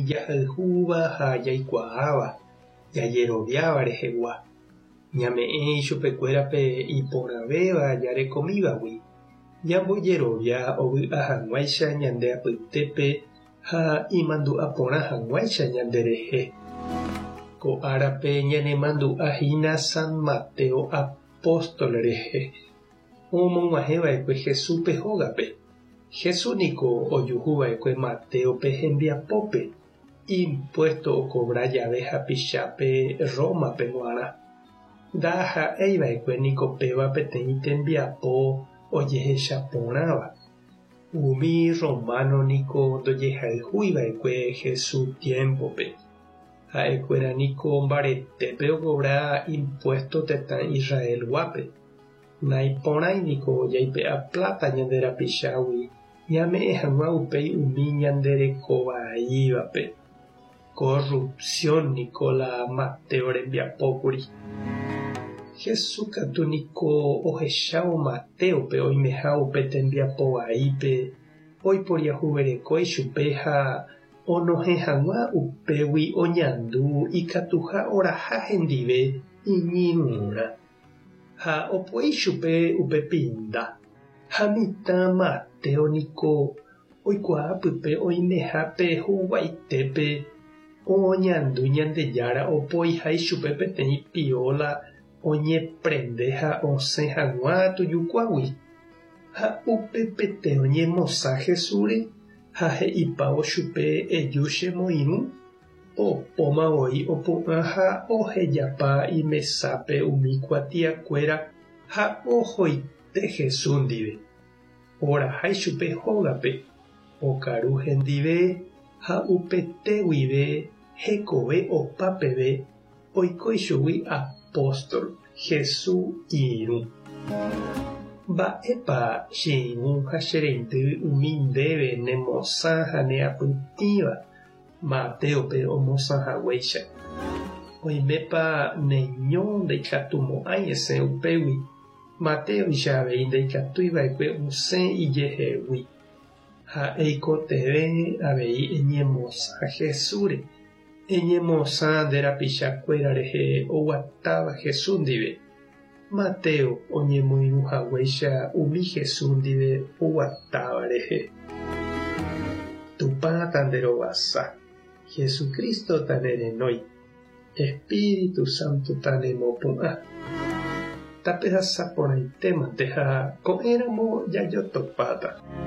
jahayhúva ha jaikuaáva, jajeroviáva rehegua. Ñame'ẽ ichupekuéra pe iporãvéva jarekomívagui, ñambojerovia ovy'a hag̃uáicha ñande apytépe ha imandu'a porã hag̃uáicha ñanderehe. Ko árape ñanemandu'a hína San Mateo apóstol rehe, omog̃uahẽva'ekue Jesúspe hógape. Jesús niko ojuhuva'ekue Matéope hembiapópe, impuésto okovra jave hapichápe Rómape g̃uarã. Ndaha'eiva'ekue niko péva peteĩ tembiapo ojehecha porãva. Umi rrománo niko ndojehayhuiva'ekue Jesús tiémpope. Ha'ekuéra niko mbaretépe okovra impuésto tetã Israelguápe. Naiporãi niko jaipe'a pláta ñande rapichágui ñame'ẽ hag̃ua upéi umi ñanderekovaívape. Corrupción niko la Mateo rembiapókuri. Jesús katu niko ohechávo Matéope oimeha upe tembiapo vaípe, oiporiahuvereko ichupe ha onohẽ hag̃ua upégui oñandu ikatuha oraha hendive iñirũrã. Ha opoi chupe upe pinda. Ha mitã Mateo niko oikuaa pype oimeha pe huguaitépe oñandu Ñandejára opoiha ichupe peteĩ pióla oñeprende ha osẽ hag̃ua tujukuágui. Ha upepete oñemosã Jesúsre ha he'ipávo chupe eju chemoirũ. Opóma voi opu'ã ha ohejapa imesápe umi kuatiakuéra ha ohoite Jesús ndive. Oraha ichupe hógape, okaru hendive ha upete guive hekove opa peve oiko ichugui apóstol, Jesús irũ. Mba'épa che irũ ha che reindy umi ndéve nemosã ha neapytĩva Matéope omosã haguéicha. Oimépa neño ndaikatumo'ãi esẽ upégui, Matéoicha avei ndaikatúi va'ekue osẽ ijehegui. Ha eikotevẽ avei eñemosã Jesúsre, eñemosã nde rapicha kuéra rehe oguatáva Jesús ndive, Mateo oñemoirũ haguéicha umi Jesús ndive oguatáva rehe. Tupã tanderovasa, Jesucristo tanerenói, Espíritu Santo tanemopu'ã. Tapehasa porãitémante ha ko'ẽramo jajotopáta.